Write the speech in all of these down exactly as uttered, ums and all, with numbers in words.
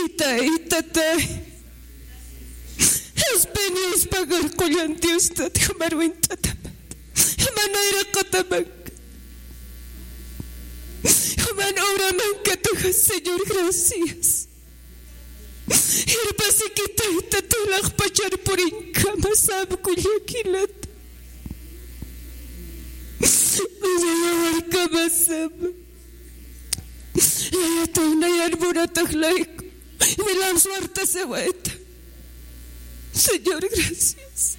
Itay, tatay. Espinios pagar qullan Diostat, jumaruwint'atamat. Juman nayraqatamak. Juman oraman katuja, Señor, gracias. Irpasikitay, tatay, laqpachar purinkama sap kullakilat. Uñayawarkamasama. Layataw nayan munatax layku. Milan suartasawayta. Señor, gracias.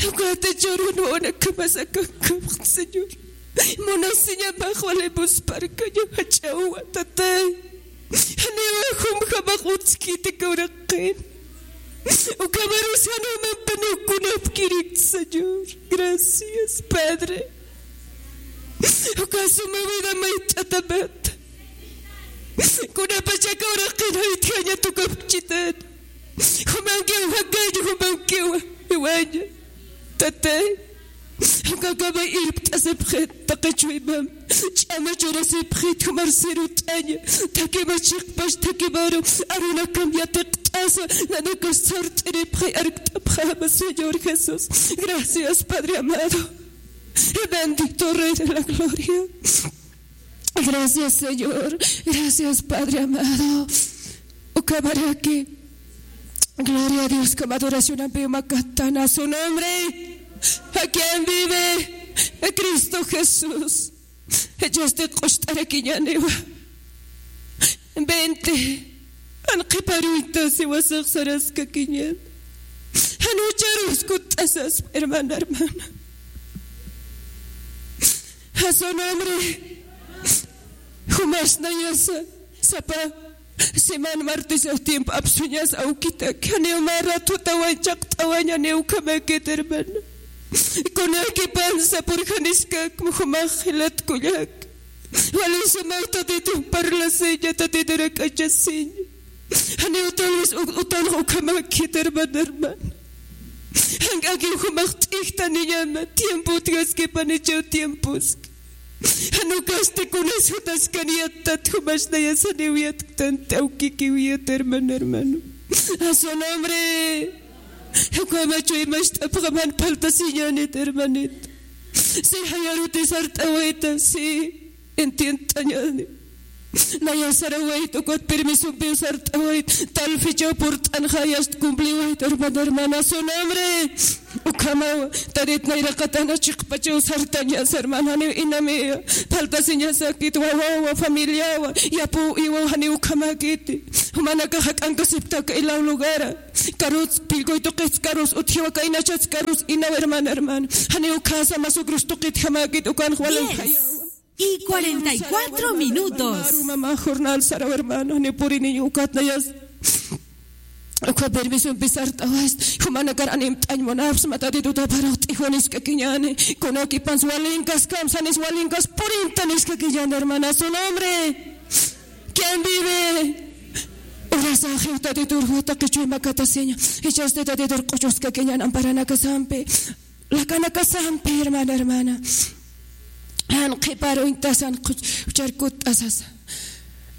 Ukatachurun wanakamasakankapx, Señor. Munasiñamax walimusparkaña jach'awa, tatay. Janiwa jumjamax utskiti kawraqin. Ukhamarus janumampan ukunapkirik, Señor. Gracias, Padre. Uka suma vida mayt'atamat. Kunapachaka uraqin jaytjaña tukapchitan. Jumankiw jakaña, jumankiw jiwaña. Tatay. Ukakamay irpt'asipxit, taqi chuymam. Ch'ama churasipxit, jumar sirut'aña. Thakima chiqpax, thakimaru. Arunakam yatiqt'asa. Nanakas sart'iripxay, arkt'apxama, Señor Jesús. Gracias, Padre amado. Bendito Rey de la Gloria. Gracias, Señor. Gracias, Padre amado. Ukamaraki. Gloria a Dios, como adoración, amén, macatana su nombre. ¿A quién vive? A Cristo Jesús. Echasti q'ust'arakiñaniwa. Veinte. Jan qhiparuyta siwasax saraskakiñan. Jan ucharus kutt'asas, hermana, hermana. A su nombre. Jumas nayasa, sapa. Semana martes tiempo apsuñas awkitaki. Janiw mä ratutawan chaqt'awaña, janiw ukhamakit, hermana. Kunakipan sapurjaniskak jumax jilat kullak. Wali sumaw Tatitun parlasiña, Tatitun rak'achasiña. Janiw tal vez u-, utanx ukhamakit, hermana, hermana. Jank'akiw jumax t'ijtaniñama, tiempo utjaskipanichaw tiempos. Jan ukasti kunas jutaskan yattat, jumas nayas janiw yatktanti awkikiw yat, hermana, hermano. A su nombre. Ukhama chuymacht'apxam, jan faltasiñänit, hermanito. Si jayaruti sart'awayta, si entiendt'añäni. Naya sarawayt, ukat permisompiw sart'awayt, tal fechaw purt'anxa, jayast cumpliwayt, hermana, hermana, su nombre. Ukhamaw, Tatit nayraqatana chiqpachaw sartañas, hermana, janiw inamiya. Faltasiñasakit, wawawa, familiawa, yapuw, iwaw, janiw ukhamakiti. Jumanakax jak'ankasiptaka ilaw lugara. Karus, pillkuy tuqits karus, utjiwa kaynachats karus, inaw, hermana, hermana. Janiw ukhasa, masuk rus tuqitjamakit, ukan walin jayawa. Y cuarenta y cuatro minutos. Mama, jornal saraw, hermano, ni puriniñ ukat nayas. Uka permisompi sart'awayt, jumanakar animt'añ munapxsma, Tatitut aparaw t'ijwaniskakiñäni, kunakipans walinkaskamsa, janis walinkas purintaniskakiñäni, hermana, su nombre. ¿Quién vive? Urasaxiw Tatitur jutaq qichuy makatasiña, jichhasti Tatitur q'uchuskakiñäni amparanakasampi. Lakanakasampi, hermana, hermana. Jan qhiparuñtasa, jan q'uch-, uchar kutt'asasa.